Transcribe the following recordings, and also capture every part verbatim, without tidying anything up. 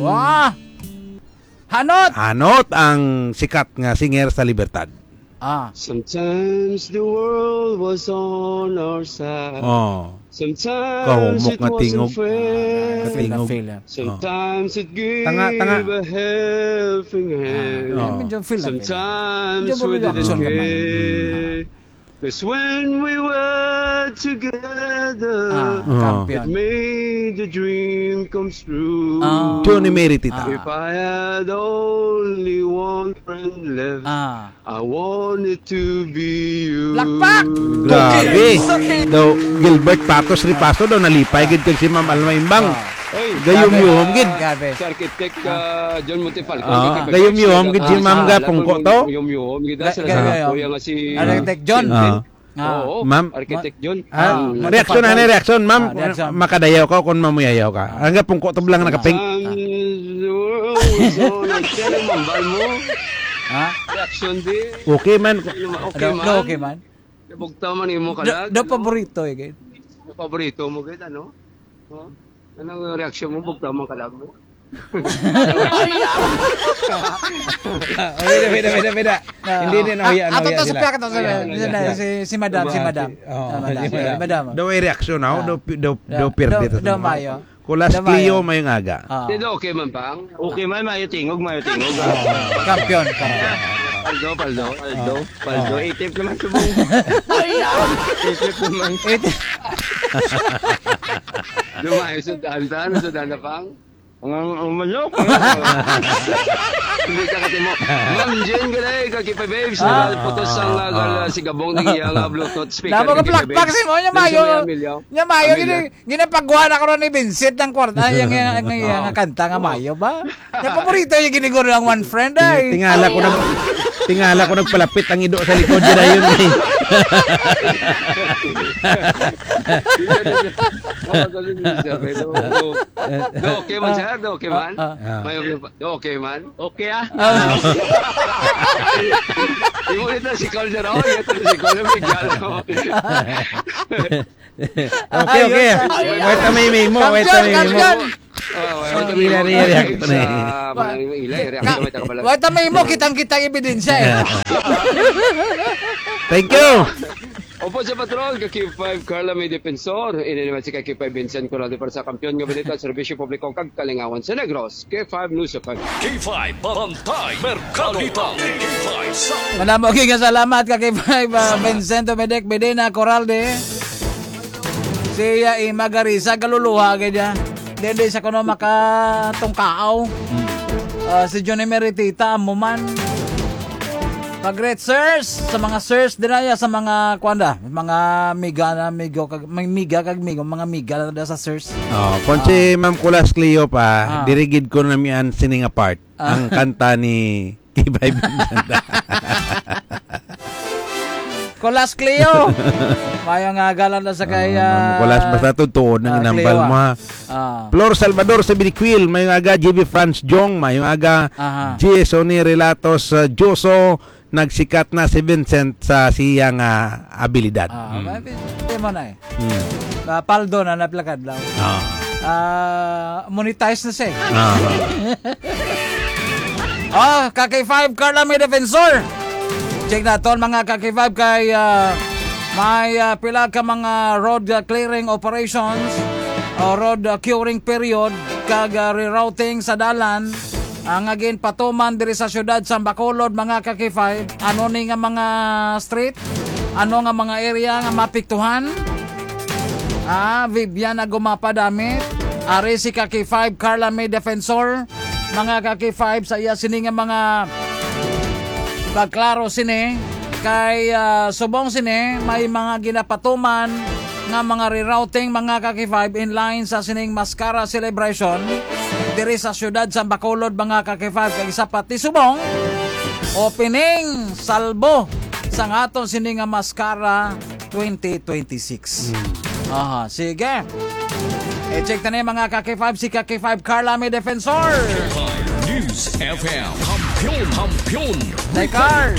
Wah! Hanot! Hanot ang sikat nga singer sa Libertad. Ah. Sometimes the world was on our side. Oh. Sometimes kahumok it nga wasn't tingog. Fair. Katingog. Feel na, feel na. Oh. Sometimes it gave tanga, tanga. A helping hand. Ah, oh. Medyo feel na, feel na. Sometimes medyo we didn't reaction ka man. Care. 'Cause when we were together, ah, oh, champion. It made the dream come true. Ah. Johnny Meritita. Ah. If I had only one friend left, ah. I want it to be you. Lakpak! Grabe. Okay. Daw Gilbert Patos Ripaso daw nalipay gid kag si Ma'am Alma Imbang. Ah. Oy, gayom-yuhom gid. Grabe. Si Architect, ah, John Montefalco, ah, gayom-yuhom gid si Ma'am ga pungko to. Gayom-yuhom gid, ah, si Architect John. Ah. Ah. Oo, Ma'am, Architect John. Ah, ah, reaction, ano, reaction, ma'am? Ah, reaction. Makadayaw ka kung mamuyayaw ka. Ah. Ang pungko to lang nakapink. Ang, so, nagtiyan ang mambal mo. Ha? Reaction di. Okay man. Okay man. Ano, okay man? Nabugtaw man imo kalag, no? Daw paborito, eh, kay. Paborito mo, gid, ano? Oh? Anong reaksyon mo? Bugtaw man kalag mo? Ah, pwede, pwede, pwede, pwede. Ah, hindi, hindi, ah, nahuya, ah, nahuya sila. Ato to sa piyak, ato sa, si, si madam, si madam. Oh, madam, si madam. Madam. Daw ay reaksyon, oh. Ah. Daw, daw, daw, daw, pirdi daw, to daw sa mga mayo. Kulas Cleo, mayong aga. Ah. Di, okay man, pang? Okay man, mayo tingog, mayo tingog. Ah. Kampiyon, kampiyon. Paldo, paldo, paldo, ah, paldo. Ah. Itip naman subong. Itip naman. Itip. Dumayo, sudan, saan? Sudan na, pang? Ang, ang manok. Hindi ka katimo. Ma'am Jane Galay, kag K five Babes, ah, putos ang, ah, ah, ah, si Gabong, nag-iya nga Bluetooth speaker, namo ka kag K five Babes. Plakpak si mo, nya mayo, nya mayo, Amelia. Gini-, ginapagwa na ko ron ni Vincent ang kwarta, ay, ang, ang, ang, ang, ah, kanta nga, oh, mayo ba? Nya paborito yung giniguro ang one friend, ay. Tingala ko nag-, tingala ko nagpalapit ang ido sa likod, yun na yun, eh. Pero, pero, okay man siya, okay man. Ah, ah. May, okay man. Okay, ah. Ah. Imo ito si Calder, oh, ito si Calder, may galo. Okay, okay. Ayun. Wait, may memo, wait, may memo. Kampiyon, kampiyon. Oh, wait, may memo. Ila, ila, ila. Sa mga ila, ila, ila, ila, ila. Wait, may memo, kitang-kita ang ebidensya, eh. Thank you. Opo, sa patrol, ka K five Carla May Defensor. Ini naman si ka K five Vincent Corralde para sa Kampiyon nga Balita, Serbisyo Publiko kag Kalingawan sa Negros. K five News F M. K five Barangay Mercado. K five sa Manamo, okay, nga salamat ka K five, ah, Vincent Dominic Medina Corralde. Siya, eh, magarisa, kaluluha, kaya dyan. Dili sa kuno makatungkaaw. Hmm. Ah, si Johnny Meritita, amo man. Pag-greet, sirs, sa mga sirs, dinaya sa mga, kuwan da, mga miga na, migo, kag, may miga, kag migo, mga miga na da sa sirs. Oh, kung si, ah, Ma'am Kulas Cleo pa, ah, diri gid ko namian sini nga part. Ah. Ang kanta ni K five Vincent. Kulas Cleo. Mayong aga lang na sa kay, ah, Ma'am Kulas, ah, basta tutuon ang, ah, inambal Cleo, mo, ah, ha. Ah. Flor Salvador sa Biniquil, mayong aga, J B Franz Jong, mayong aga, aha, G S Oni Relatos, ah, Joso, nagsikat na si Vincent sa siyang, ah, abilidad. Ah, mm, may, may, mo na eh. Hmm. Ah, paldo na naplakad lang. Ah. Ah, monetize na siya eh. Ah. Oh, ka K five Carla May Defensor. Check naton mga ka K five kay, ah, may, ah, pila ka mga road, ah, clearing operations o road, ah, curing period kag, ah, rerouting sa dalan, ah, nga ginpatuman diri sa siyudad sa Bacolod, mga ka K five. Ano ni nga mga street? Ano nga mga area nga mapiktuhan? Ah, Vivian Agumapa Damit. Ari si ka K five, Carla May Defensor. Mga ka K five, sa iya sini nga mga pagklaro sini. Kay, ah, subong sini, may mga ginapatuman nga mga rerouting, mga ka K five, in line sa sining Mascara Celebration diri sa siyudad sa Bacolod, mga ka K five. Kag isa pa ti subong, opening salbo sa aton sini nga Mascara twenty twenty-six. Hmm. Aha, sige. I-check ta ni mga ka K five, si ka K five Carla May Defensor. K five News F M. Kampiyon, kampiyon. Tekar.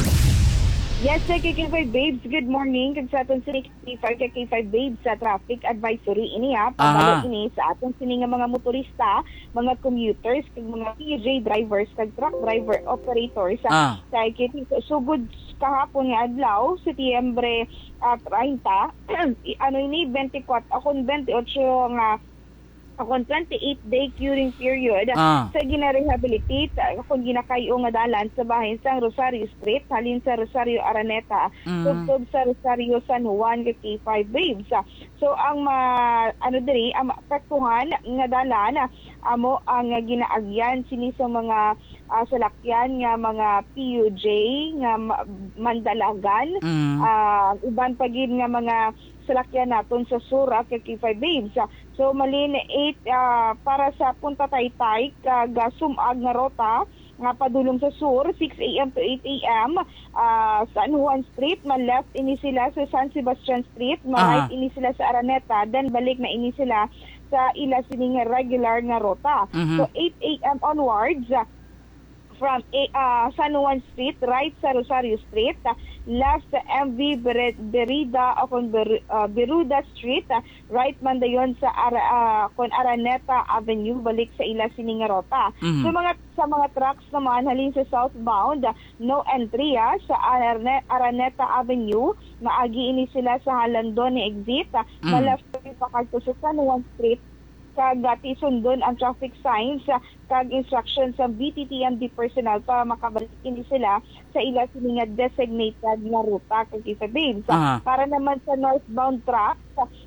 Yes, sir, K K five Babes, good morning. Kag sa aton sini K K five, K K five Babes, sa traffic advisory ini, ha. Pabalik Aha. ini sa aton sini nga mga motorista, mga commuters, kag mga P J drivers, kag truck driver operators. Ah. Sa ikit-, sugod kahapon nga adlaw, Setyembre, ah, treinta, i-, ano ini, twenty-four, akon twenty-eight nga, akon twenty-eight day curing period Ah. sa gina-rehabilitate, ah, akon ginakayo nga dalan sa bahin sang Rosario Street, halin sa Rosario Araneta, Mm. tubtob sa Rosario San Juan, K K five Babes. So, ang ma-, ano diri, ang maapektuhan nga dalan, amo ang ginaagyan sini sa mga, ah, salakyan nga mga P U J nga ma-, mandalagan, Mm. ah, uban pa gid nga mga salakyan naton sa sur, ah, K K five Babes. So, malin eight, ah, para sa Punta Taytay kag, ah, sum-ag nga rota nga padulong sa sur, six a m to eight a m, ah, San Juan Street, ma-left ini sila sa San Sebastian Street, ma-right Aha. ini sila sa Araneta, then balik na ini sila sa ila sining regular nga rota. Mhm. So, eight a m onwards, ah, from A-, ah, San Juan Street, right sa Rosario Street, ah, left sa M V Bere-, Berida o kon Ber-, ah, Beruda Street, ah, right man dayon sa Ara-, ah, kon Araneta Avenue, balik sa ila sini nga rota. Mhm. Sa mga, sa mga trucks naman halin sa southbound, ah, no entry, ah, sa Arane-, Araneta Avenue, maagi ini sila sa Halandone exit, ah, Mm. ma-left pakadto sa San Juan Street, kag, ah, tisundon ang traffic signs, ah, kag instruction sa B T T M D personnel para makabalik ini sila sa ila sini nga designated nga ruta, K K five Babes. Aha. Para naman sa northbound trucks,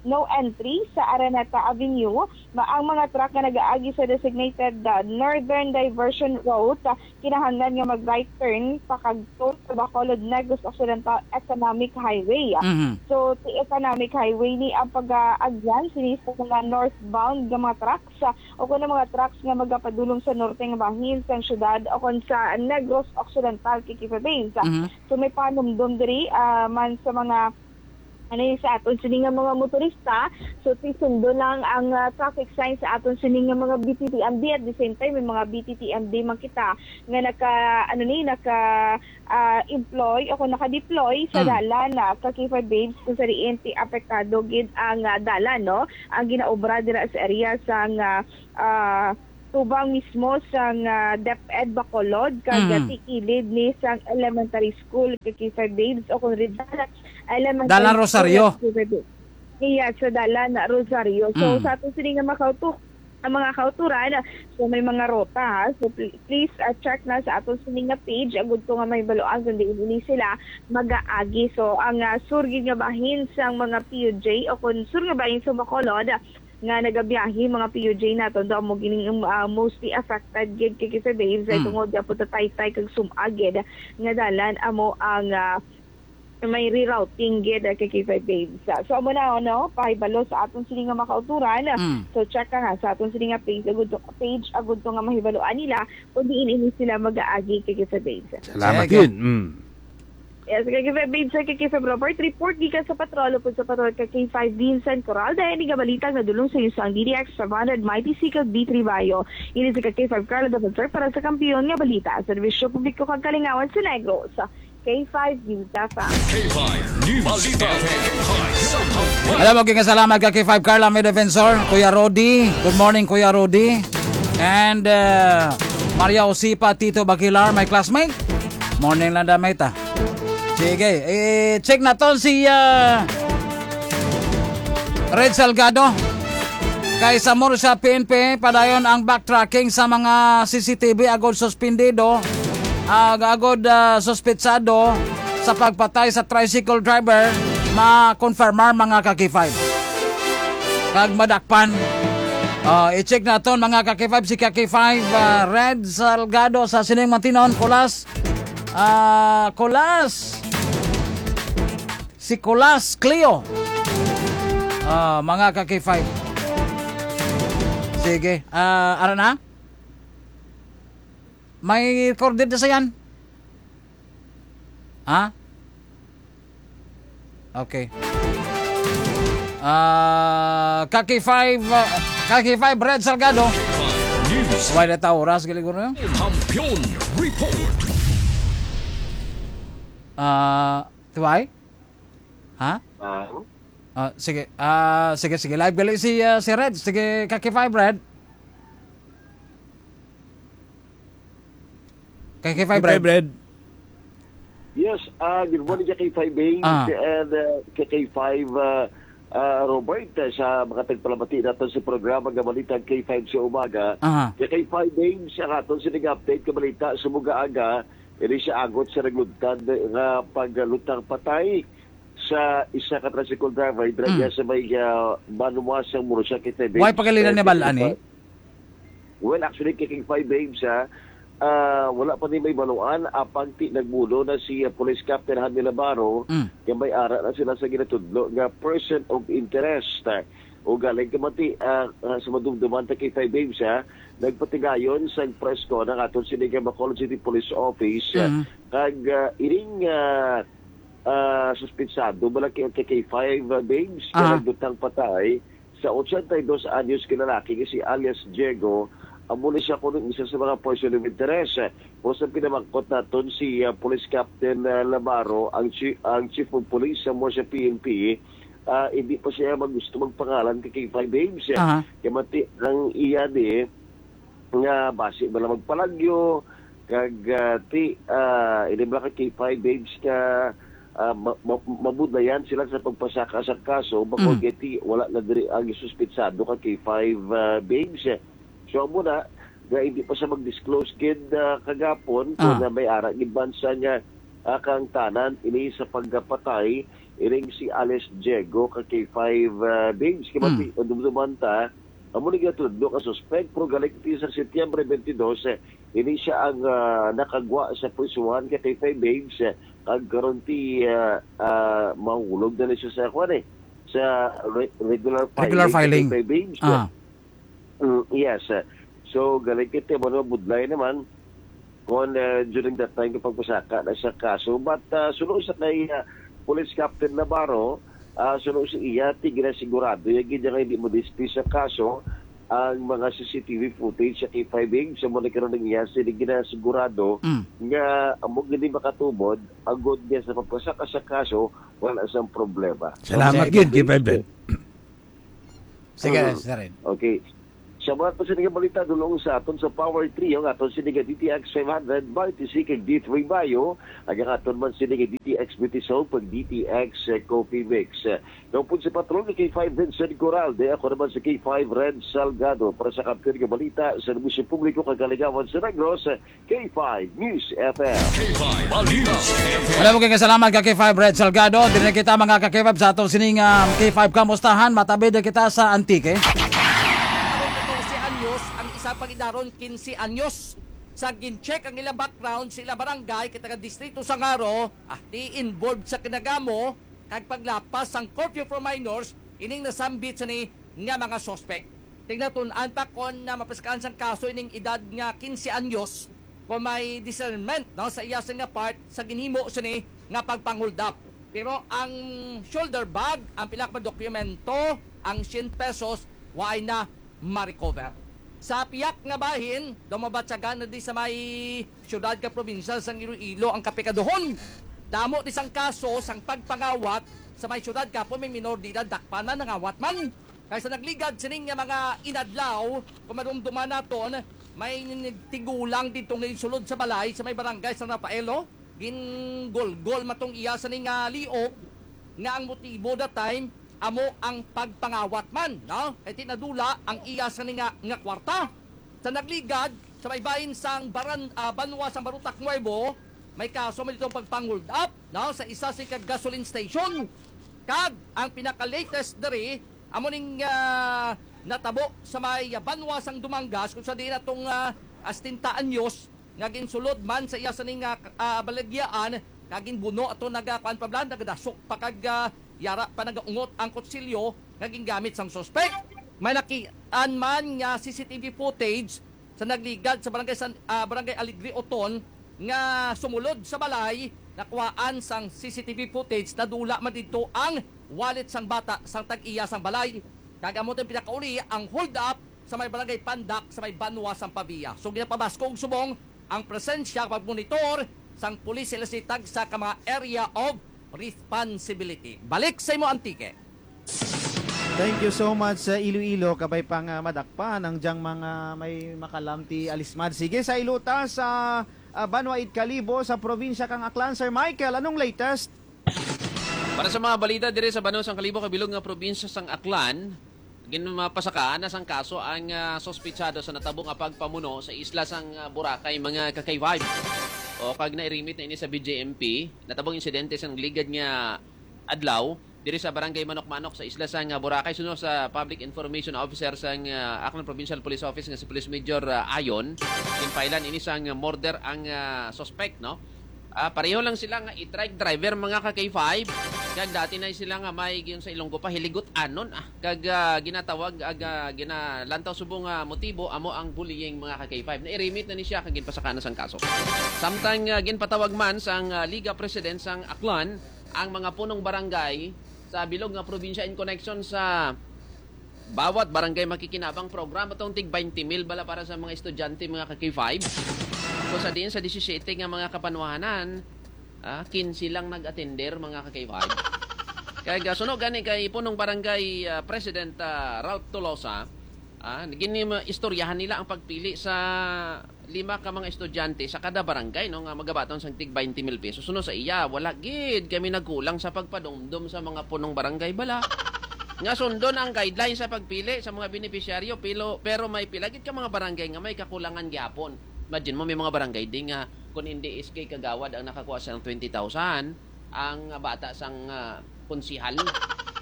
no entry sa Araneta Avenue. Ma-, ang mga truck nga nagaagi sa designated, ah, northern diversion route, ah, kinahanglan nga mag-right turn pakadto sa Bacolod, Negros Occidental Economic Highway. Mhm. So, sa Economic Highway ni ang pag-aagyan sini sa mga northbound nga mga trucks, ah, o kuno mga trucks nga magapadulong sa norte nga bahin sang syudad o kon sa Negros Occidental, K K five Babes. Mhm. So, may panumdom diri, ah, man sa mga, ano yun, sa aton sini nga mga motorista. So, tisundo lang ang, ah, traffic sign sa aton sini nga mga B T T M D. At the same time, may mga B T T M D man kita nga naka, ano ni, naka, ah, employ o kung naka-deploy sa Mm. dalan na, K K five Babes, kung sa diin ti apektado gid ang, ah, dalan, no? Ang ginaobra dira sa area sang, ah, ah, tubang mismo sang, ah, DepEd Bacolod, kag Mm. ti kilid ni sang elementary school, K K five Babes, o kung Rizal Elementary Dalan School, Rosario. K K five Babes. Iya, sa dalan na Rosario. So, Mm. sa aton sini nga makauto-, ang mga kauturan, so may mga rota, ha? So, pl-, please, ah, check na sa aton sini nga page, agud to nga mahibaluan kung diin ini sila mag-aagi. So, ang, ah, sur gid nga bahin sang mga P U J o kung sur nga bahin sa Bacolod, nga nagabiyahe, mga P U J naton, daw mo gining, um, ah, mostly affected gid, K K five Babes, ay Mm. tungod nga punta Taytay kag sum-ag gid nga dalan amo ang, ah, may rerouting gid, ah, K K five Babes. Ah, so, amo na, no? Pahibalo sa aton sini nga makauturan. Mm. So, check ka nga sa aton sini nga page, agud to, page, agud to nga mahibaluan nila kung diin ini sila mag-aagi, K K five Babes. Salamat Sige. yun. Mm. Yes, K K five Babes, K K five Robert. Report gikan sa patrol, upod sa patrol, K K five Vincent Coral. Dahil ni nga balita nga dulong sa inyo sang D D X five hundred, Mighty C kag D three Bayo. Ini si K K five Carla Dapat para sa kampiyon nga balita. Serbisyo publiko kag kalingawan sa Negros. K five News F M. K five News Balita. F M. Alam mo, gingasalamat ka kay Five Carla, may defensor. Kuya Rodi. Good morning, Kuya Rodi. And, uh, Maria Osipa, Tito Bakilar, my classmate. Morning lang, damay ta. Sige, i-check naton si, ah, Red Salgado. Kay sa Murcia P N P, padayon ang backtracking sa mga C C T V agod suspendido, ag-, agod, ah, suspetsado sa pagpatay sa tricycle driver, ma-confirmar, mga ka-K five. Kag madakpan. Ah, i-check naton, mga ka-K five, si ka-K five, ah, Red Salgado sa sining matinon, Kulas. Ah, Kulas. Si Kulas Cleo. Ah, mga ka-K five. Sige. Ah, ara na? May recorded na sa yan? Ha? Okay. Ah, ka-K five, ah, ka-K five Red Salgado. News. Wala ta oras, galiguro. Kampiyon Report. Ah, Why? Ha? Ah, Ah, sige. Ah, sige, sige. Live gali si, ah, si Red. Sige, ka K five, Red. Ka K five, Red. Red. Yes, ah, good morning, ka K five Baines Ah. and, ah, ka K five, ah, ah, Robert, ah, sa mga tagpalamati nato sa programa nga Balita K five sa Umaga. Aha. Ka K five Baines, ang aton sining update nga balita sa mga aga, ini siya agot sa naglutad nga paglutang patay sa isa ka tricycle driver dira Mm. sa may, ah, Banwa sa Murcia, Quezon. Why pagalinan ni Balan, eh? Well, actually, kay King Five Babes, ha, ah, wala pa ni may baluan, apang ti nagbulo na si, ah, Police Captain Handy Labaro, Mm. nga may ara na sila sa ginatudlo nga person of interest. O galing ka mati, ah, ah, sa madumduman ta kay Five Babes, ha, nagpatigayon sa press con ang aton sini nga Bacolod City Police Office, ah, Mm. kag, ah, ining, ah, ah, suspitsado, bala kay, kay, kay Five, ah, Babes, nga Aha. naglutang patay sa ochenta y dos anyos ka lalaki nga si alias Diego, amo na siya kuno isa sa mga person of interest. Pero sa pinamangkot naton si, ah, Police Captain, ah, Labaro, ang chi-, ang Chief of Police sa Murcia P N P, ah, hindi pa siya mag-, gusto magpangalan kay, kay Five Babes. Aha. Kay mati ang iya di, nga basi bala magpalagyo, kag, ah, ti, ah, ini bala ka K five Babes nga, ah, ma-, ma-, mabudlayan sila sa pagpasaka sa kaso, bako Mm. geti wala na diri ang suspitsado ka K five, ah, Babes. So, amo na, nga hindi pa sa mag-disclose gid, ah, kagapon, kung Ah. na may ara gid man sa nga, ah, kaangtanan ini sa pagkapatay, iring si Alice Diego ka K five, ah, Babes. Kay Mm. mati, dumduman ta, amo ni gatudlo ka suspek, pero galing ti sa Setyembre twenty-two, eh, ini siya ang, ah, nakagwa sa prisuhan ka K five Babes, eh, kag karon ti, ah, ah, mahulog na ni siya sa, kuwan, eh, sa re-, regular Regular filing ka filing. K five Babes, eh. Ah. Mm, yes, eh. So, galing kay ti, ano, budlay naman. Kon, ah, during that time, kapag pasaka na sa kaso. But, ah, suno sa kay, ah, Police Captain Navarro, ah, suno sa iya, ti ginasigurado, ya gid nga hindi mo dismiss sa kaso ang mga C C T V footage sa K five Babes. Sa mo nagkaroon ng iya, sila ginasigurado Mm. nga amo gini makatubod, agod niya sa pagpasaka sa kaso, wala sang problema. Salamat Okay. gid, K five Babes. Sige, Mm. Sir Ren. Okay. Sa mga pa sini nga balita, dulong sa aton sa Power Trio, nga aton sini nga D T X five hundred, Marty C kag D three Bayo, ang aton man sini nga D T X Beauty Soap, kag D T X, eh, Coffee Mix. Eh, kaupod sa patrol ni K five Vincent Coralde, ako naman sa K five Red Salgado, para sa kampiyon nga balita sa negosyo publiko kag kaligawan sa Negros, K five News F M. K five News F M. Wala mo kay kasalamat ka K five Red Salgado. Diri na kita, mga ka K five, sa atong sining, um, K five Kamustahan. Matabid na kita sa Antique. Karon katorse anyos, ang isa pag-idaron quince anyos. Sa gin-check ang ilang background sa ilang barangay, kay taga distrito sa Ngaro, ah, di involved sa kinagamo kag paglapas sang curfew for minors, ining nasambit sini nga mga suspect. Tingnan tun-an pa kon na mapiskaan sang kaso ining edad nga quince anyos, kung may discernment, no, sa iya sini nga part sa ginhimo sini nga pagpang-hold up. Pero ang shoulder bag, ang pila ka dokumento, ang cien pesos, waay na ma-recover. Sa piyak nga bahin, daw mabatyagan na di sa may siyudad ka probinsya sang Iloilo ang kapikaduhon. Damo di sang kaso sang pagpangawat sa may siyudad, kapon may minor de edad, dakpan man, nangawat man. Kay sa nagligad sining nga mga inadlaw, kung madumduman naton, may tigulang didto nga insulod sa balay sa may barangay San Rafael, oh. Gingulgol man tong iya sini nga liog nga ang motibo that time amo ang pagpangawat man, no? Kay ti nadula ang iya sini nga, nga kwarta. Sa nagligad, sa may bahin sang baran-, ah, banwa sang Barotac Nuevo, may kaso man didto pagpang-hold up, no? Sa isa sini ka gasoline station. Kag ang pinaka-latest diri, amo ning, ah, natabo sa may, ah, banwa sang Dumangas, kung sa diin atong, ah, ah, setenta anyos nga ginsulod man sa iya sini nga, ah, balagyaan, kag ginbuno ato naga-, kuan pa bala, nagadasok pa kag, ah, yara pa nagaungot ang kutsilyo nga gingamit sang suspek. May nakitaan man nga C C T V footage sa nagligad sa barangay San, ah, barangay Alegre Oton nga sumulod sa balay, nakuhaan sang C C T V footage, nadula man didto ang wallet sang bata sang tag-iya sang balay. Kag amo tong pinakauli ang hold up sa may barangay Pandak sa may banwa sang Pavia. So, ginapabaskog subong ang presensya pagmonitor sang pulis sila sa tagsa ka mga area of responsibility. Balik sa imo, Antique. Thank you so much sa Iloilo. Kabay pa nga madakpan ang dyang mga may makalamti alismad. Sige, sa iluta sa ah, Banwa it Kalibo sa probinsya kang Aklan. Sir Michael, anong latest? Para sa mga balita diri sa Banwa sang Kalibo, kabilog nga probinsya sang Aklan, ginmapasakaan na sang kaso ang ah, suspitsado sa natabo nga pagpamuno sa isla sang ah, Boracay, mga ka-K five. O kag nairimit na ini sa B J M P, natabong insidente sang ligad nga adlaw diri sa Barangay Manok-Manok sa isla sang ah, Boracay. Suno sa Public Information Officer sang ah, Aklan Provincial Police Office nga si Police Major ah, Ayon, ginpailan ini sang murder ang ah, suspect, no? Ah, pareho lang sila nga e-trike driver, mga ka-K five. Kag dati na sila nga may giyon sa Ilonggo pa, hiligot anon, ah. Kag ah, ginatawag, ag, ah, ginalantaw subong nga motibo amo ang bullying, mga ka-K five. Nairimit na ni siya kag ginpasaka na sang kaso. Samtang ah, ginpatawag man sang ah, Liga President sang Aklan ang mga punong barangay sa bilog nga probinsya in connection sa bawat barangay makikinabang programa tong tig twenty mil bala para sa mga estudyante, mga ka-K five. So sa diin sa disisiyete nga mga kapanwahanan, ah, kinse lang nag-atender, mga ka-K five. Kay gasuno gani kay punong barangay ah, President ah, Ralph Tolosa, ah, gini istoryahan nila ang pagpili sa lima ka mga estudyante sa kada barangay, no, nga magabaton sang tig twenty mil pesos. Suno sa iya, wala gid kami nagkulang sa pagpadumdom sa mga punong barangay bala nga sundon ang guidelines sa pagpili sa mga benepisyaryo, pilo, pero may pila gid ka mga barangay nga may kakulangan gyapon. Imagine mo, may mga barangay di nga kung hindi S K Kagawad ang nakakuha sa twenty thousand, ang bata sang ah, konsihal.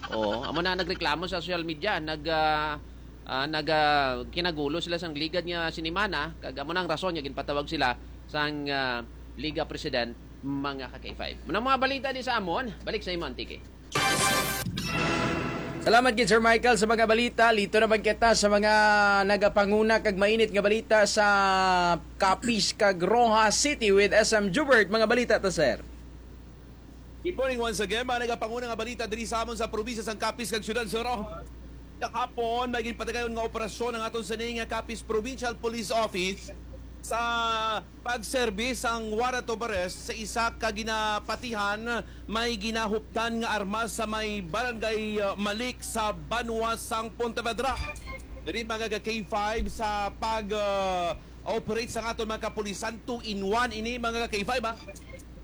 Oh, amo na nagreklamo sa social media, nag ah, ah, nag ah, kinagulo sila sang ligad nga sinimana, kag amo na ang rason nga ginpatawag sila sang ah, Liga President, mga ka-K five. Muna mga balita di sa amon, balik sa imo, Antique. Salamat gid, Sir Michael, sa mga balita. Lito naman kita sa mga nagapanguna kag mainit nga balita sa Capiz kag Roxas City with S M Jubert. Mga balita ta, sir. Good morning once again, mga nagapanguna nga balita diri sa amon sa probinsya sang Capiz kag Siyudad sang Roxas. Kahapon, may ginpatigayon nga operasyon ang aton sini nga Capiz Provincial Police Office sa pagserbi sang warrant of arrest sa isa ka ginapatihan may ginahuptan nga armas sa may barangay, uh, Malik sa banwa sang Pontevedra. Diri, mga ka-K five, sa pag, uh, operate sang aton mga kapulisan, two in one ini, mga ka-K five, ha?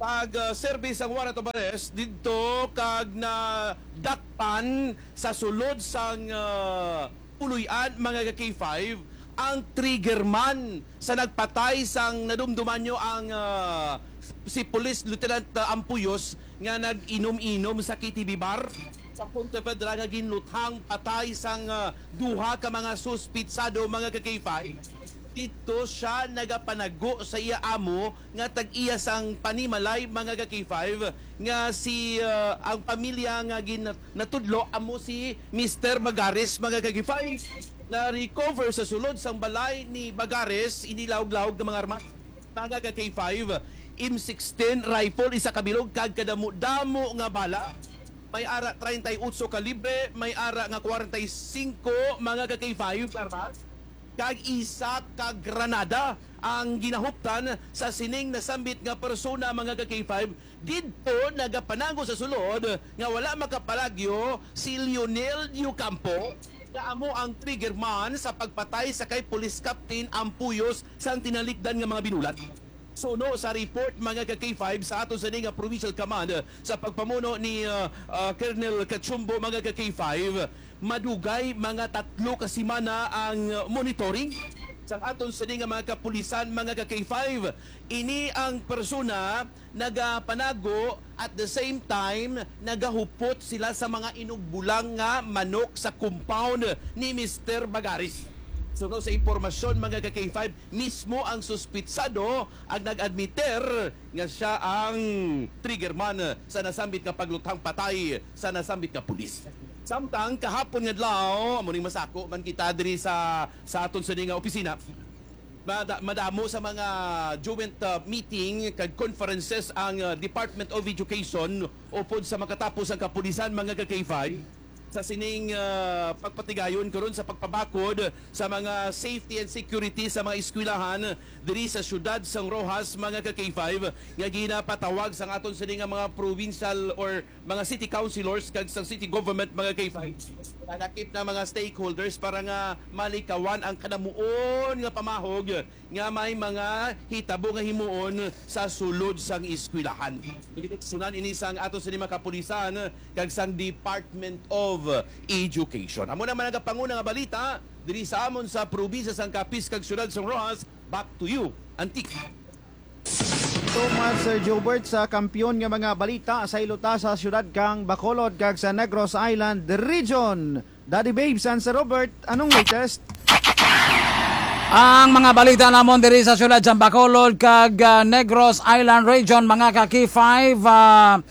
Pag, uh, serbi sang warrant of arrest didto kag nadakpan sa sulod sang, uh, puloy-an, mga ka-K five, ang trigger man sa nagpatay sang nadumduman nyo ang, ah, si Police Lieutenant, ah, Ampuyos nga nag-inom-inom sa K T V bar sa Pontevedra nga ginluthang patay sang, ah, duha ka mga suspitsado, mga ka-K five. Dito siya nagapanago sa iya amo nga tag-iya sang panimalay, mga ka-K five, nga si, ah, ang pamilya nga gin-, natudlo amo si Mister Bagares, mga ka-K five. Na-recover sa sulod sang balay ni Bagares ini lahog-lahog nga mga armas, mga ka-K five, M sixteen rifle, isa ka bilog, kag kadamo-damo nga bala. May ara treinta y ocho kalibre, may ara nga kwarenta y singko, mga ka-K five, armas, kag isa ka granada ang ginahuptan sa sining nasambit nga persona, mga ka-K five. Didto nagapanago sa sulod nga wala makapalagyo si Lionel Diocampo, nga amo ang trigger man sa pagpatay sa kay Police Captain Ampuyos sang tinalikdan nga mga binulat. Suno sa report, mga ka-K five, sa aton sini nga Provincial Command sa pagpamuno ni, ah, ah, Colonel Cachumbo, mga ka-K five, madugay mga tatlo ka semana ang monitoring sang aton sini nga mga kapulisan, mga ka-K five. Ini ang persona nagapanago, at the same time nagahupot sila sa mga inugbulang nga manok sa compound ni Mister Bagaris. Suno sa impormasyon, mga ka-K five, mismo ang suspitsado ang nag-admiter nga siya ang trigger man sa nasambit nga pagluthang patay sa nasambit nga pulis. Samtang kahapon nga adlaw, amo ning masako man kita diri sa, sa aton sini nga opisina, mada-, madamo sa mga joint, uh, meeting kag conferences ang, uh, Department of Education upod sa makatapos ang kapulisan, mga ka-K five. Sa sining, ah, pagpatigayon karon sa pagpabakod sa mga safety and security sa mga eskwelahan diri sa siyudad sang Roxas, mga ka K five, nga ginapatawag sang aton sini nga mga provincial or mga city councilors kag sang city government, mga K five, nalakip na mga stakeholders para nga malikawan ang kanamuon nga pamahog nga may mga hitabo nga himuon sa sulod sang eskwelahan. Sunan ini sang ato sini mga kapulisan kag sang Department of Education. Amo naman ang panguna nga balita diri sa amon sa probinsya sang Capiz kag siyudad sang Roxas. Back to you, Antique. Thomas, Sir Gilbert, sa kampiyon nga mga balita sa ilota sa siyudad kang Bacolod kag sa Negros Island Region. Daddy Babes and Sir Robert, anong latest? Ang mga balita namon diri sa siyudad sa Bacolod kag ah, Negros Island Region, mga ka K five, ah,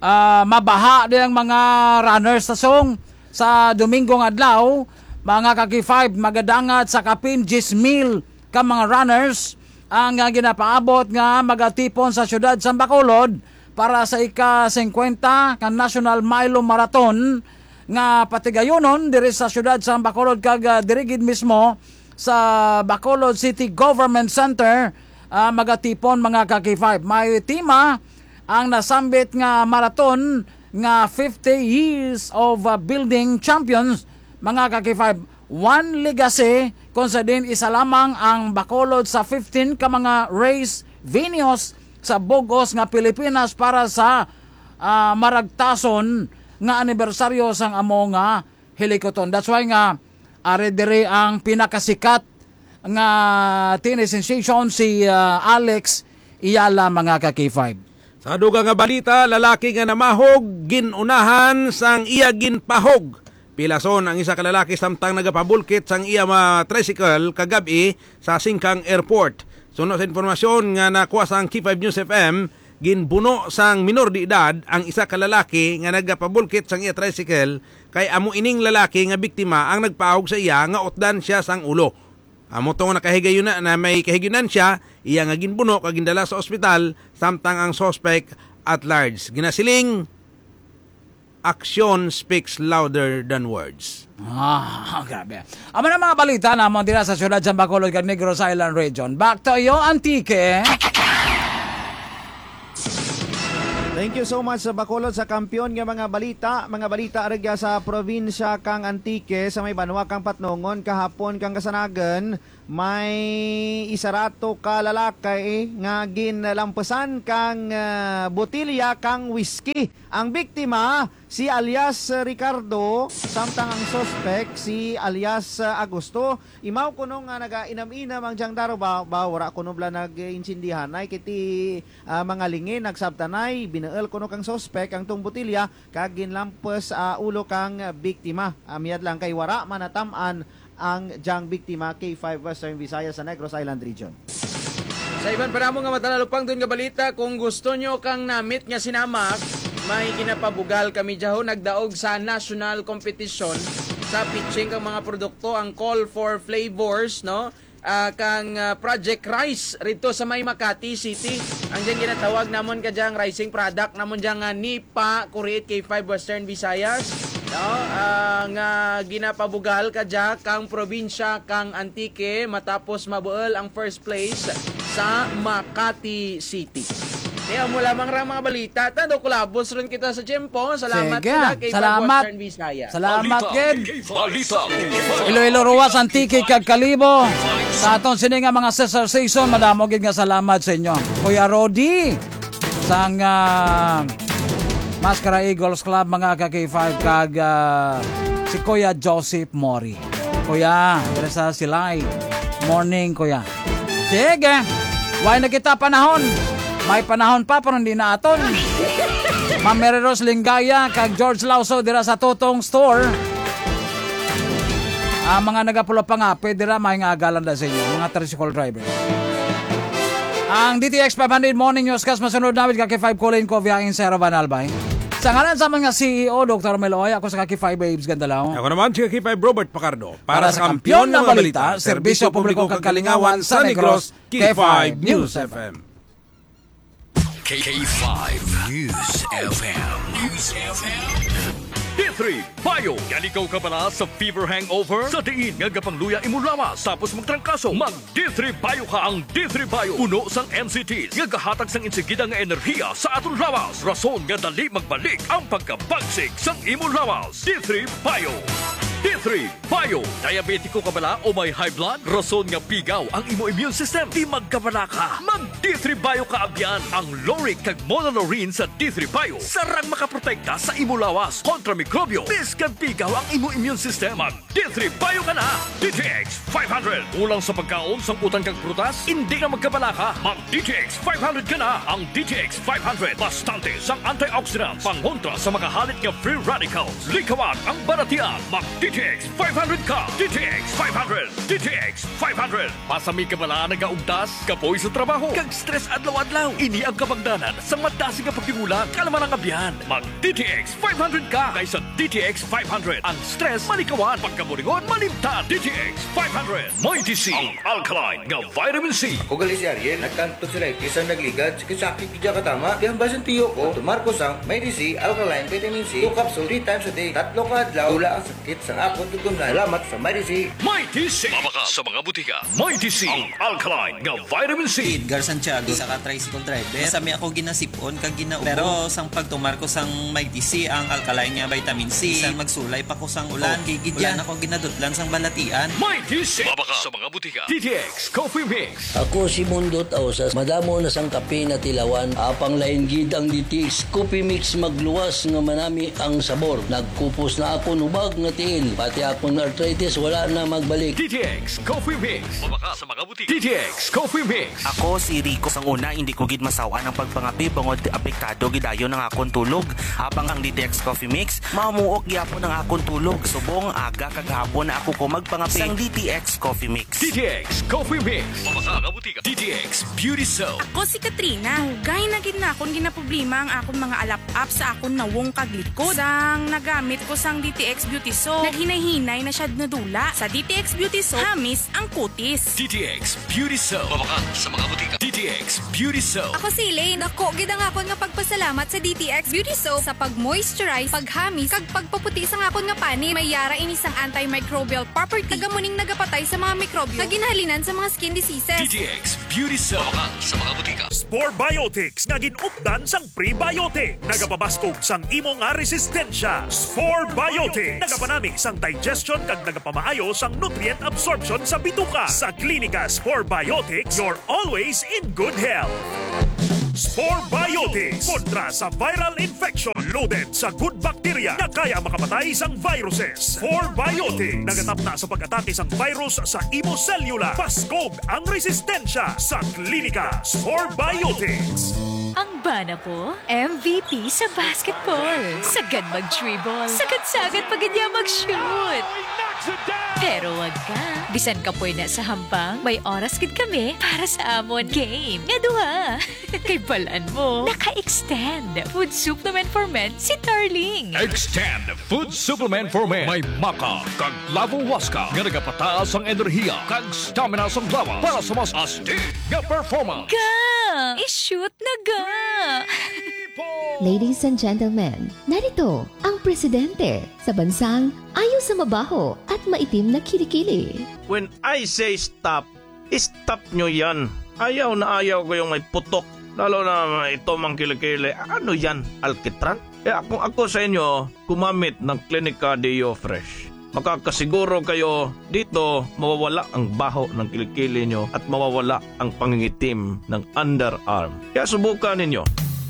ah, mabaha di ang mga runners sa song sa Domingo nga adlaw, mga ka K five, magadangat sa kapin diyes mil ka mga runners ang ah, ginapaabot nga magatipon sa siyudad sa Bacolod para sa ika singkwenta ka National Milo Marathon nga patigayunon diri sa siyudad sa Bacolod kag ah, diri gid mismo sa Bacolod City Government Center ah, magatipon, mga ka K five. May tema ang nasambit nga marathon nga fifty years of ah, building champions, mga ka K five. One legacy kung sa din isa lamang ang Bacolod sa fifteen ka mga race venues sa bug-os nga Pilipinas para sa ah, maragtason nga anibersaryo sang amo nga hilikuton. That's why nga ari diri ang pinakasikat nga tennis sensation si ah, Alex Eala, mga ka K five. Sa dugang nga balita, lalaki nga namahog ginunahan sang iya ginpahog. Pilason ang isa ka lalaki samtang nagapabulkit sang iya ma tricycle kagab-i sa Singkang Airport. Suno sa informasyon nga nakuha sang K five News F M, ginbuno sang minor de edad ang isa ka lalaki nga nagapabulkit sang iya tricycle, kay amo ining lalaki nga biktima ang nagpaahog sa iya nga utdan siya sang ulo. Amo to nga nakahigayon na, na may kahigayonan siya, iya nga ginbuno kag gindala sa ospital, samtang ang suspect at large. Ginasiling, action speaks louder than words. Ah, grabe. Amo na mga balita namon dira sa siyudad sa Bacolod kag Negros Island Region. Back to you, Antique. Thank you so much sa Bacolod sa kampiyon nga mga balita. Mga balita aragya sa probinsya kang Antique sa may banwa kang Patnongon kahapon kang kasanagan. May isa rato ka lalaki nga ginlampasan kang ah, botilya kang whisky. Ang biktima si alias Ricardo, samtang ang suspek si alias ah, Agosto. Imaw kuno nga nagainam-inam ang diyang daro ba, ba wala kuno bala nag-insindihan ay kiti ah, mga lingin nagsabtanay, binuol kuno kang suspek ang tong botilya kag ginlampas ah, ulo kang biktima. Ah, miyad lang kay wara man natam-an ang diyang biktima, K five Western Visayas sa Negros Island Region. Sa iban pa namo nga matalalupangdon nga balita, kung gusto nyo kang namit nga sinamak, may ginapabugal kami dyaho nagdaog sa national competition sa pitching kang mga produkto, ang Call for Flavors, no? Ah, kang ah, Project Rice rito sa may Makati City. Ang dyan ginatawag namon ka dyan, rising product namon dyan nga Nipa Kurit K five Western Visayas. No? Ah, nga ginapabugal ka dyan kang probinsya kang Antique matapos mabuol ang first place sa Makati City. Kaya mo lamang ra mga balita. Tando kulabos ron kita sa tiyempo. Salamat Sige. Pala kay Salamat. Western Bisaya. Salamat, Ged. Balita. Iloilo, Roxas, Antique, kag Kalibo. Sa aton sini nga mga sister station, madamo gid nga salamat sa inyo. Kuya Rodi, sang ah, Mascara Eagles Club, mga ka K five, kag ah, si Kuya Joseph Mori. Kuya, diri sa Silay. Morning, Kuya. Sige. Why na kita panahon? May panahon pa, pero hindi na aton. Ma'am Mary Rose Lingaya kag George Lauso dira sa Totong Store. Ang mga nagapula pa nga, pwede ra may nga agalan na sa inyo, mga tricycle driver. Ang D T X five hundred Morning Newscast masunod namin ka K five Colin Coviain, Sir Van Albay. Sa ngalan sa mga C E O, Doctor Mel Oy, ako sa ka K five Babes Gandalaw. Ako naman si ka K five Robert Pacardo. Para, sa kampiyon nga mga balita, serbisyo publiko kag kalingawan sa Negros, K five News F M. K five News F M. News F M. Three Bio. Yali ka bala sa fever hangover? Sa diin nga gapangluya imo lawas tapos magtrangkaso? Mag D three Bio ka. Ang D three Bio, puno sang N C Ts nga gahatag sang insigida nga enerhiya sa aton lawas, rason nga dali magbalik ang pagkabagsik sang imo lawas. D three Bio. D three Bio. Diabetiko ka bala o may high blood? Rason nga pigaw ang imo immune system? Di magkabala ka. Mag D three Bio ka abyan. Ang lauric kag monolaurin sa D three Bio sarang makaprotekta sa imo lawas kontra mikrobyo. Bisan pigaw ang imo immune system, mag D three Bio ka na. D T X five hundred. Kulang sa pagkaon, sangkutan kag prutas? Hindi na magkabala ka. Mag D T X five hundred ka na. Ang D T X five hundred, bastante sang antioxidants, pangontra sa makahalit nga free radicals. Likawan ang balatian. Mag D T X five hundred ka. D T X five hundred. D T X five hundred. Masami ka bala nagaugtas, kapoy sa trabaho, kag stress adlaw-adlaw? Ini ang kabangdanan sang madasig nga pagtibulan. Kalma lang, abyan. Mag D T X five hundred ka, kay sa D T X five hundred, ang stress malikawan, pagkaburingon malimtan. D T X five hundred. Mighty C, ang alkaline nga vitamin C. Ako gali si Ariel, nagkanto sila, eh, isang nagligad, sakit-sakit, di ka tama. Kaya ang basin tiyo ko, tumar ko sang Mighty C, alkaline vitamin C, two capsule, three times a day. Tatlo ka adlaw, wala ang sakit sa akon tutunlan. Salamat sa Mighty C. Mighty C. Mabaka sa mga butika. Mighty C, ang alkaline nga vitamin C. Edgar Santiago, isa ka tricycle driver. Sa mi ako ginasipon kag ginaubos. Pero sang pagtumar ko sang Mighty C, ang alkaline nga vitamin C, bisan magsulay pa ko sang ulan, okay gid yan. Wala na ko ginadutlan sang balatian. Mighty C. Mabaka sa mga butika. D T X Coffee Mix. Ako si Mundot Ausas. Madamo na sang kape na tilawan. Apang lain gid ang D T X Coffee Mix, magluwas nga manami ang sabor. Nagkupos na akon hubag nga tiil. Pati akon arthritis wala na magbalik. D T X Coffee Mix. Mabaka sa mga butika. D T X Coffee Mix. Ako si Rico. Sang una, hindi ko gid masaw-an ang pagpangape bangod apektado gid dayon ang akon tulog. Apang ang D T X Coffee Mix, mamuok gyapon ang akon tulog. Subong aga kag hapon na ako ko magpangape. Sang D T X Coffee Mix. D T X Coffee Mix. Mabaka nga butika. D T X Beauty Soap. Ako si Katrina. Dugay na gid na akon ginaproblema ang akon mga alap-ap sa akon nawong kag likod. Sang nagamit ko sang D T X Beauty Soap, naghinay-hinay na siya nadula. Sa D T X Beauty Soap, hamis ang kutis. D T X Beauty Soap. Mabaka sa mga butika. D T X Beauty Soap. Ako si Elaine. Dako gid ang akon nga pagpasalamat sa D T X Beauty Soap sa pag-moisturize, paghamis, kag pagpaputi sang akon nga panit. May yara ini sang antimicrobial property. Taga muning nagapatay sa mga mikrobyo nga ginhalinan sa mga skin diseases. D T X Beauty Soap. Mabaka sa mga butika. Spore Biotics nga gin-updan sang prebiotic. Nagapabaskog sang imo nga resistensya. Spore Biotics. Nagapanami sang digestion kag nagapamaayo sang nutrient absorption sa bituka. Sa Klinika Spore Biotics, you're always in good health. Spore Biotics kontra sa viral infection, loaded sa good bacteria nga kaya makapatay sang viruses. Spore Biotics nagatapna sa pag-atake sang virus sa imo selula. Baskog ang resistensya sa Klinika Spore Biotics. Ang bana ko, M V P sa basketball. Sagad mag-dribble. Sagad-sagad pa gid niya mag-shoot. Pero wag ka. Bisan kapoy na sa hampang, may oras gid kami para sa amon game nga duha. Kay balan mo, naka-extend Food Supplement for Men si Darling. Extend Food Supplement for Men. May maca kag Lavo Huasca nga nagapataas ang enerhiya kag stamina sang lawas para sa mas astig nga performance. Ga! I-shoot na ga! Ladies and gentlemen, narito ang presidente sa bansang ayaw sa mabaho at maitim na kilikili. When I say stop, stop nyo yan. Ayaw na ayaw ko yung may putok. Lalo na ito mang kilikili. Ano yan? Alkitran? Kaya kung ako sa inyo, gumamit ng Klinika Deo Fresh. Makakasiguro kayo dito mawawala ang baho ng kilikili nyo at mawawala ang pangingitim ng underarm. Kaya subukan ninyo.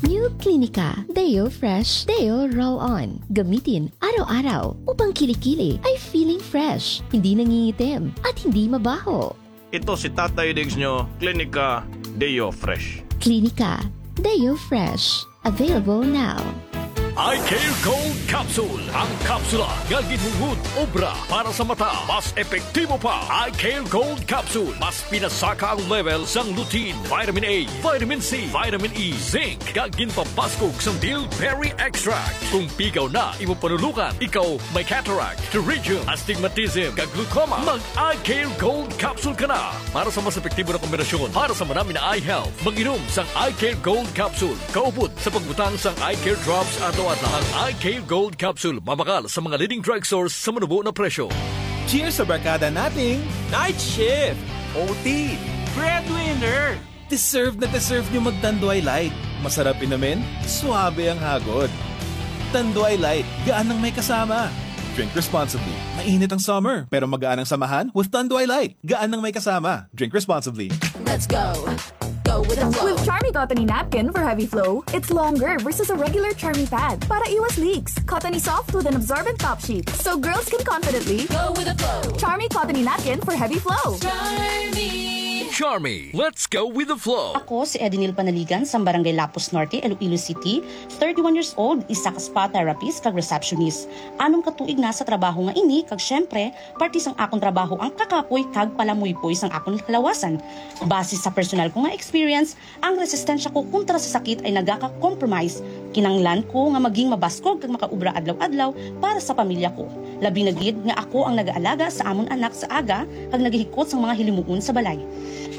New Klinika Deo Fresh Deo Roll On. Gamitin araw-araw upang kilikili ay feeling fresh, hindi nangingitim, at hindi mabaho. Ito si Tatay Diggs nyo, Klinika Deo Fresh. Klinika Deo Fresh. Available now. Eye Care Gold Capsule. Ang kapsula nga ginhungod obra para sa mata. Mas epektibo pa. Eye Care Gold Capsule. Mas pinasaka ang level sang lutein, vitamin A, vitamin C, vitamin E, zinc, kag ginpabaskog sang bilberry extract. Kung pigaw na imo panulukan, ikaw may cataract, pterygium, astigmatism, kag glaucoma, mag Eye Care Gold Capsule ka na. Para sa mas epektibo na kombinasyon para sa manami na eye health, mag-inom sang Eye Care Gold Capsule kaupod sa pagbutang sang Eye Care Drops ato Ang I K Gold Capsule, mabakal sa mga leading drugstores sa manubo na presyo. Cheers sa barkada nating Night shift, O T, breadwinner. Deserve na deserve nyo mag-Tanduay Light. Masarap inumin, suabe ang hagod. Tanduay Light, gaan ang may kasama. Drink responsibly. Mainit ang summer, pero magaan ang samahan with Tanduay Light. Gaan ang may kasama. Drink responsibly. Let's go. Go with the flow. With Charmy Cottony Napkin for Heavy Flow, it's longer versus a regular Charmy pad para iwas leaks. Cottony soft with an absorbent top sheet, so girls can confidently Go with the flow. Charmy Cottony Napkin for Heavy Flow. Charmy. Charmy, let's go with the flow. Ako si Edinil Panaligan sa Barangay Lapus Norte, Iloilo City, thirty-one years old, isa ka spa therapist kag receptionist. Anom ka tuig na sa trabaho nga ini kag syempre, parte sang akon trabaho ang kakapoy kag palamuypoy sang akon kalawasan. Base sa personal ko nga experience, ang resistensya ko kontra sa sakit ay nagaka-compromise. Kinanglan ko nga maging mabaskog kag makaobra adlaw-adlaw para sa pamilya ko. Labi na gid nga ako ang nagaalaga sa amon anak sa aga kag nagahikot sang mga hilimuon sa balay.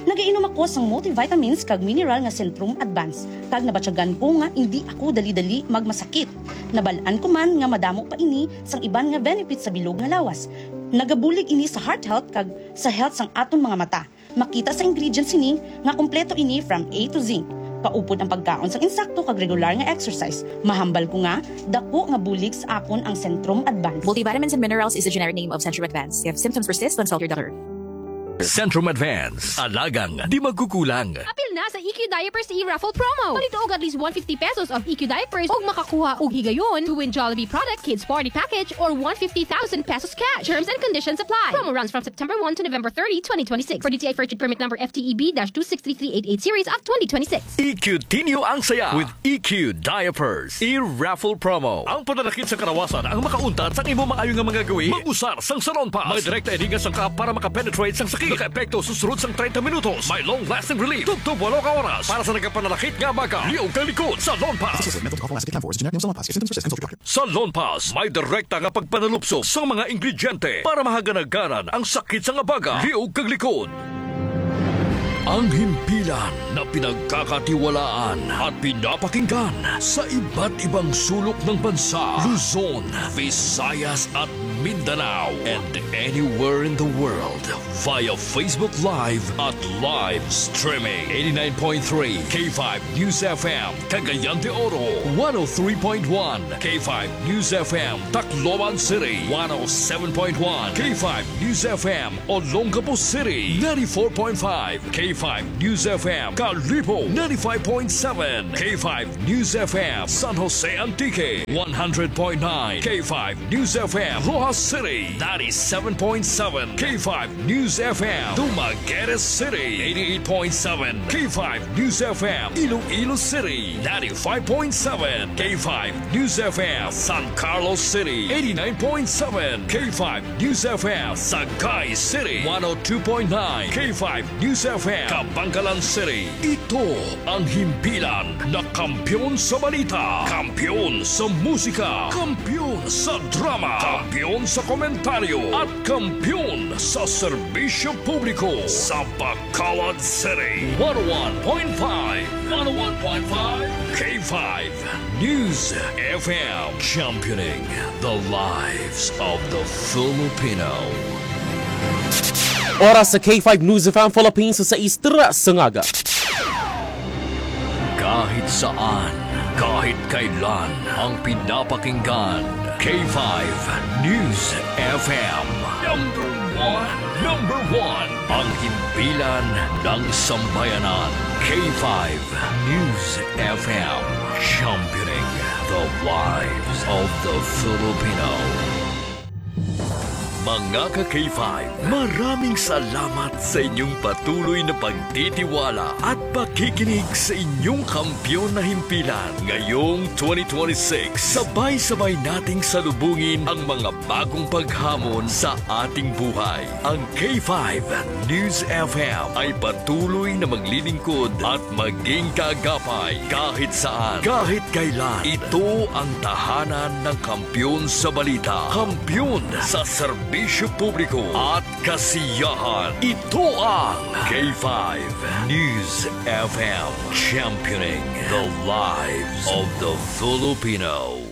Nagainom ako sang multivitamins kag mineral nga Centrum Advance, kag nabatyagan ko nga indi ako dali-dali magmasakit. Nabal-an ko man nga madamo pa ini sang iban nga benefits sa bilog nga lawas. Nagabulig ini sa heart health kag sa health sang aton mga mata. Makita sa ingredients sini nga kompleto ini from A to Z. Kaupod ang pagkaon sang insakto kag regular nga exercise. Mahambal ko nga dako nga bulig sa akon ang Centrum Advance. Multivitamins and minerals is the generic name of Centrum Advance. If symptoms persist, consult your doctor. Centrum Advance. Alagang di magkukulang. Apil na sa E Q Diapers e-raffle promo. Palito og at least one fifty pesos of E Q diapers ug makakuha og higayon to win Jollibee product, kids party package, or one fifty thousand pesos cash. Terms and conditions apply. Promo runs from September one to November thirty, twenty twenty-six. For D T I Purchase Permit Number F T E B dash two six three three eight eight series of twenty twenty-six. E Q Tinyo ang saya with E Q Diapers. E-raffle promo. Ang pananakit sa kalawasan ang makauntat sang imo maayo nga mga gawi. Mag-usar sang Salon Pass. May direkta ini nga sangkap para makapenetrate sang sakit. Nakaepekto susulod sang treinta minutos. May long-lasting relief. Tubtob walo ka oras. Para sa nagapananakit nga baga. Liog kag likod. Salon Pass. Associated with Menthol Coffee Acid Tampons. Generic name sa Salon Pass. If symptoms persist, consult your doctor. Salon Pass may direkta nga pagpanalupso sang mga ingrediente para mahaganaganan ang sakit sang abaga, liog kag likod. Ang himpilan na pinagkakatiwalaan at pinapakinggan sa iba't ibang sulok ng bansa, Luzon, Visayas at Mindanao, and anywhere in the world via Facebook Live at live streaming. Eighty-nine point three K five News F M, Cagayan de Oro, one oh three point one K five News F M, Tacloban City, one oh seven point one K five News F M, Olongapo City, ninety-four point five K five News F M, Kalibo, ninety-five point seven K five News F M, San Jose Antique, one hundred point nine K five News F M, Roxas City, ninety-seven point seven K five News F M, Dumaguete City, eighty-eight point seven K five News F M, Iloilo City, ninety-five point seven K five News F M, San Carlos City, eighty-nine point seven K five News F M, Sagay City, one oh two point nine K five News F M, Kabankalan City. Ito ang himpilan na kampiyon sa balita, kampiyon sa musika, kampiyon sa drama, kampiyon sa komentaryo, at kampiyon sa serbisyo publiko sa Bacolod City. One oh one point five, one oh one point five K five News F M, championing the lives of the Filipino. Oras sa K five News F M Philippines sa sais tres sa ngaga. Kahit saan, kahit kailan, ang pinapakinggan, K five News F M. Number one, number one, ang himpilan ng sambayanan, K five News F M, championing the lives of the Filipino. Mga ka K five, maraming salamat sa inyong patuloy na pagtitiwala at pakikinig sa inyong kampiyon na himpilan. Ngayong twenty twenty-six, sabay-sabay nating salubungin ang mga bagong paghamon sa ating buhay. Ang K five News F M ay patuloy na maglilingkod at maging kaagapay kahit saan, kahit kailan. Ito ang tahanan ng kampiyon sa balita, kampiyon sa serbisyo publiko at kasiyahan. Ito ang K five News F M, championing the lives of the Filipino.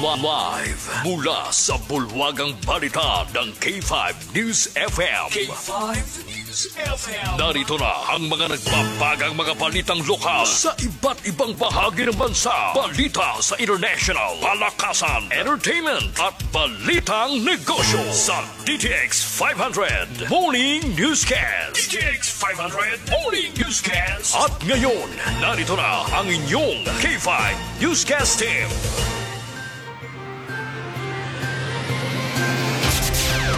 Live mula sa bulwagang balita ng K five News F M. K five News F M. Narito na ang mga nagbabagang mga balitang lokal sa iba't ibang bahagi ng bansa. Balita sa international, palakasan, entertainment, at balitang negosyo sa D T X five hundred Morning Newscast. D T X five hundred Morning Newscast. At ngayon, narito na ang inyong K five Newscast Team.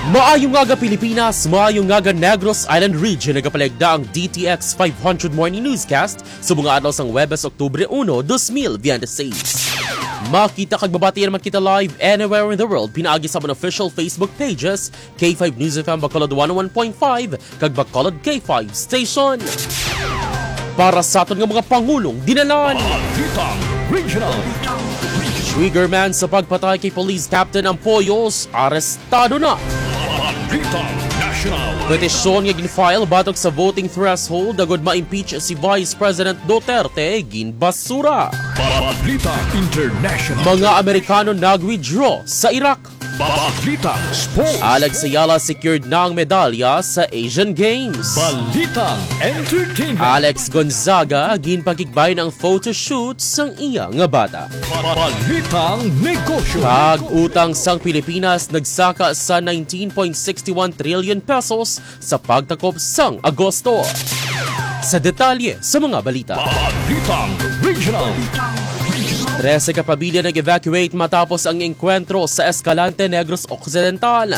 Maayong aga, Pilipinas. Maayong aga, Negros Island Region. Nagapaligda ang D T X five hundred Morning Newscast sa mga adlaw sang Huwebes, Oktubre uno, dos mil veintiséis. Makita kag mabatian man kita live anywhere in the world pinaagi sa mga official Facebook pages, K five News F M Bacolod one oh one point five kag Bacolod K five Station. Para sa aton nga mga pangulong dinalan. Balitang Regional. Triggerman sa pagpatay kay Police Captain Ampoyos, arestado na. Balitang National. Petisyon nga gin-file batok sa voting threshold agud ma-impeach si Vice President Duterte, ginbasura. Balitang International. Mga Amerikano nag-withdraw sa Iraq. Balitang Sports. Alex Ayala secured na ang medalya sa Asian Games. Balitang Entertainment. Alex Gonzaga ginpakigbayan ang photoshoot sang iya nga bata. Balitang Negosyo. Pag-utang sang Pilipinas nagsaka sa nineteen point six one trillion pesos sa pagtakop sang Agosto. Sa detalye sa mga balita. Balitang Regional. Trese ka pamilya nag-evacuate matapos ang engkwentro sa Escalante, Negros Occidental.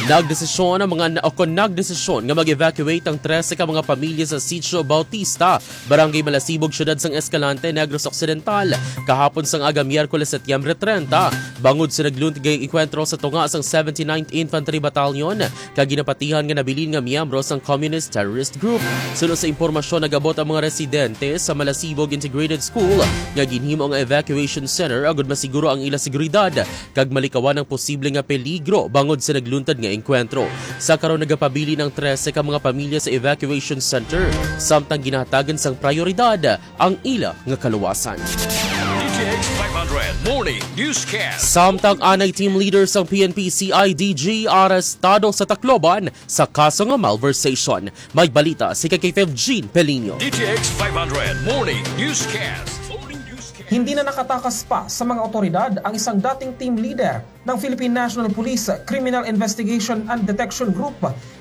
Nagdesisyon ang mga, o kon nagdesisyon nga mag-evacuate ang trese ka mga pamilya sa Sitio Bautista, Barangay Malasibog, Siyudad sang Escalante, Negros Occidental, kahapon sang aga, Miyerkules, Setyembre treinta, bangod sa nagluntad nga engkwentro sa tunga sang seventy-ninth Infantry Battalion kag ginapatihan nga nabilin nga miyembro sang Communist Terrorist Group. Suno sa impormasyon, nag-abot ang mga residente sa Malasibog Integrated School nga ginhimo nga evacuation center agud masiguro ang ila seguridad kag malikawan ang posible nga peligro bangod sa nagluntad nga engkwentro. Sa karon, nagapabilin ang trese ka mga pamilya sa evacuation center, samtang ginahatagan sang prioridad ang ila nga kaluwasan. D T X five hundred Morning Newscast. Samtang anay, team leader sang P N P C I D G arestado sa Tacloban sa kaso nga malversation. May balita si K five Jean Peliño. D T X five hundred Morning Newscast. Morning Newscast. Hindi na nakatakas pa sa mga otoridad ang isang dating team leader ng Philippine National Police Criminal Investigation and Detection Group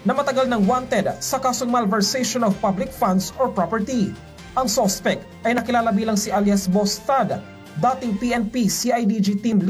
na matagal nang wanted sa kasong malversation of public funds or property. Ang suspect ay nakilala bilang si alias Boss Tad, dating P N P C I D G team